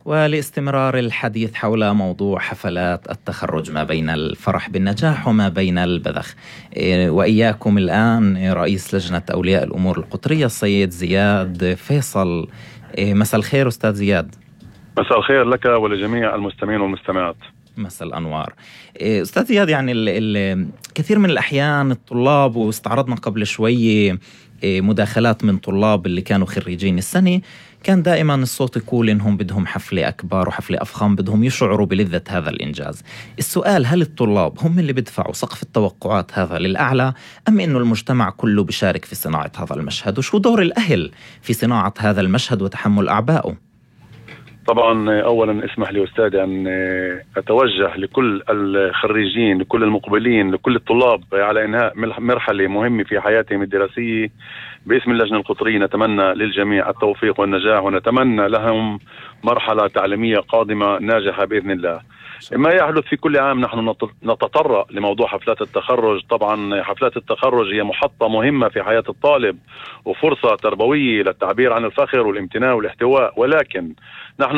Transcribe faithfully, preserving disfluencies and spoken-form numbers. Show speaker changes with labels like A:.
A: ولاستمرار الحديث حول موضوع حفلات التخرج ما بين الفرح بالنجاح وما بين البذخ، وإياكم الآن رئيس لجنة أولياء الأمور القطرية السيد زياد فيصل. مساء الخير أستاذ زياد.
B: مساء الخير لك ولجميع المستمعين والمستمعات.
A: مساء الأنوار. أستاذ زياد، يعني ال ال كثير من الأحيان الطلاب، واستعرضنا قبل شوي مداخلات من طلاب اللي كانوا خريجين السنة، كان دائما الصوت يقول إنهم بدهم حفلة أكبر وحفلة أفخم، بدهم يشعروا بلذة هذا الإنجاز. السؤال: هل الطلاب هم اللي بدفعوا سقف التوقعات هذا للأعلى، أم إنه المجتمع كله بيشارك في صناعة هذا المشهد؟ وشو دور الأهل في صناعة هذا المشهد وتحمل أعبائه؟
B: طبعا أولا اسمح لي أستاذ أن أتوجه لكل الخريجين، لكل المقبلين، لكل الطلاب على إنهاء مرحلة مهمة في حياتهم الدراسية. باسم اللجنة القطرية نتمنى للجميع التوفيق والنجاح، ونتمنى لهم مرحلة تعليمية قادمة ناجحة بإذن الله. ما يحدث في كل عام نحن نتطرق لموضوع حفلات التخرج. طبعا حفلات التخرج هي محطة مهمة في حياة الطالب وفرصة تربوية للتعبير عن الفخر والامتنان والاحتواء، ولكن نحن